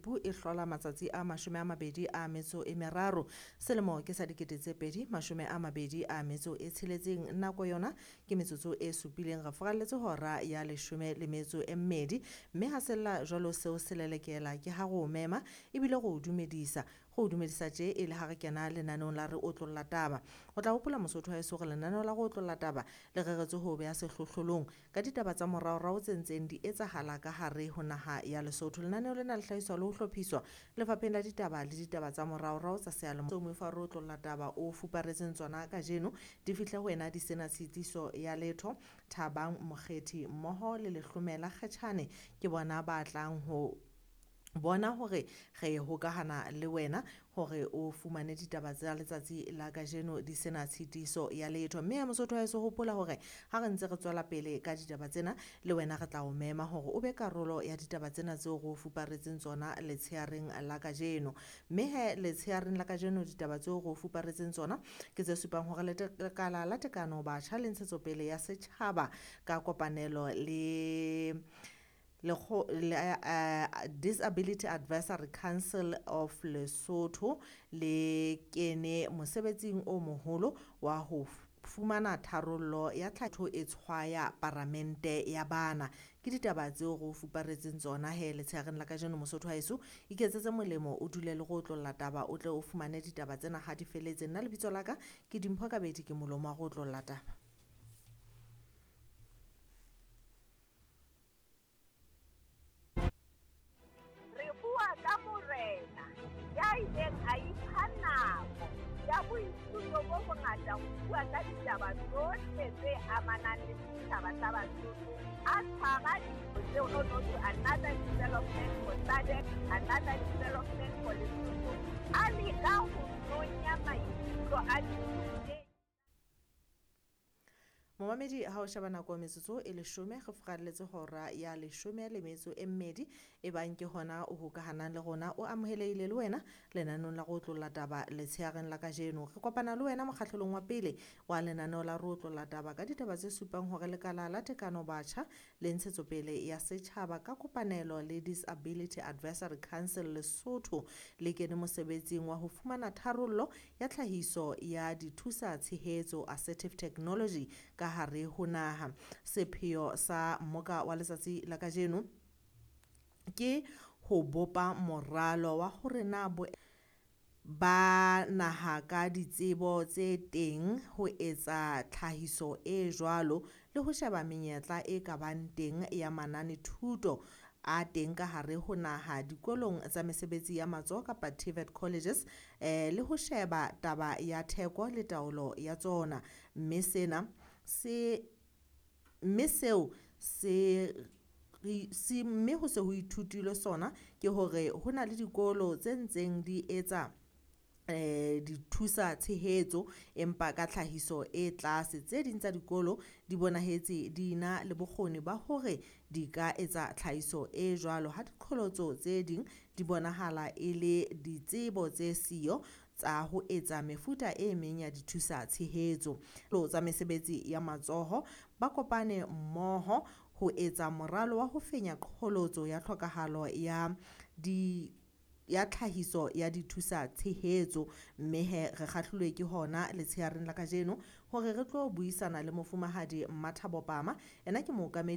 Phupu e hlola matsatsi a 23 selemo ke sa 2026. Nako yona ke metsotso e supileng re furalletse hora ya 12, mme ha sella jwalo seo se lelekela ke ha re o mema ebile re o dumedisa. Go o dumedisa tje e le ha re kena lenaneong la re otlolla taba. O tla hopola Mosotho wa heso hore lenaneo la re otlolla taba le reretswe ho beha sehlohlolong ka ditaba tsa moraorao tse ntseng di etsahala ka hare ho naha ya Lesotho. Lenaneo lena le hlahiswa le ho hlophiswa lefapheng la ditaba le ditaba tsa moraorao tsa seyalemoya. Moifo wa re otlolla taba o fuparetseng tsona kajeno di fihle ho wena di sena tshitiso ya letho. Thabang Mokgethi mmoho le Lehlomela Kgetjhane ke bona ba tlang ho bona hore re hokahana le wena hore o fumane ditaba tsa letsatsi la kajeno di sena tshitiso ya letho. Mme ya Mosotho wa heso, hopola hore ha re ntse re tswela pele ka ditaba tsena le wena re tla o mema hore o be karolo ya ditaba tsena tseo re o fuparetseng tsona letsheareng la kajeno. Mme he letsheareng la kajeno ditaba tseo re o fuparetseng tsona ke tse supang hore lekala la tekano batjha le ntshetsopele ya setjhaba ka kopanelo le Disability Advisory Council of Lesotho le kene mosebetsing o moholo wa ho fumana tharollo ya tlhaho e tshwaya paramente ya bana. Ke ditaba tseo re o fuparetseng tsona he letsheareng la kajeno. Mosotho wa heso, iketsetse molemo o dule le go otlolla taba o tle o fumane ditaba tsena ha di feletse. Nna lebitso la ka ke Dimpho Kabedi, ke molomo wa go otlolla taba. Re bua ka morena ya ileng a ipha nako ya boithuto bo bongata ho bua ka ditaba tsohle tse amanang le setjhaba sa Basotho, a tshwara ditho tseo no no to another development for SADC, another development for Lesotho, a leka ho nonya maikutlo a ditho. Momamedi, ha o sheba nako metsotso e 10 re furalletse hora ya 12 e bang ke hona o hokahanang le rona, o amohelehile le wena lenaneong la re otlolla taba letsheareng la kajeno. Re kopana le wena mokgahlelong wa pele wa lenaneo la re otlolla taba ka ditaba tse supang hore lekala la tekano batjha le ntshetsopele ya setjhaba ka kopanelo le Disability Advisory Council Lesotho le kene mosebetsing wa ho fumana tharollo ya tlhahiso ya dithusa tshehetso assertive technology ka hare ho naha. Sepheo sa mmoka wa letsatsi la kajeno ke ho bopa moralo wa hore na bo ba naha ka ditsebo tse teng ho etsa tlhahiso e jwalo le ho sheba menyetla e ka bang teng ya manane thuto a teng ka hare ho naha dikolong tsa mesebetsi ya matsoho kapa TVET colleges, le ho sheba taba ya theko le taolo ya tsona. Mme sena se mme seo se se mme ho se ho ithutilwe sona ke hore ho na le dikolo tse ntseng di etsa dithusa tshehetso empa ka tlhahiso e tlase. Tse ding tsa dikolo di bonahetse di na le bokgoni ba hore di ka etsa tlhahiso e jwalo, ha diqholotso tse ding di bonahala e le ditsebo tse siyo tsa ho etsa mefuta e meng ya dithusa tshehetso. Tsa mesebetsi ya matsoho ba kopane mmoho ho etsa moralo wa ho fenya qholotso ya tlhokahalo ya di ya tlhahiso ya dithusa tshehetso. Mme he re kgahlilwe ke hona letsheareng la kajeno hore re tlo buisana le mofumahadi Mmathabo Pama, ena ke mookamedi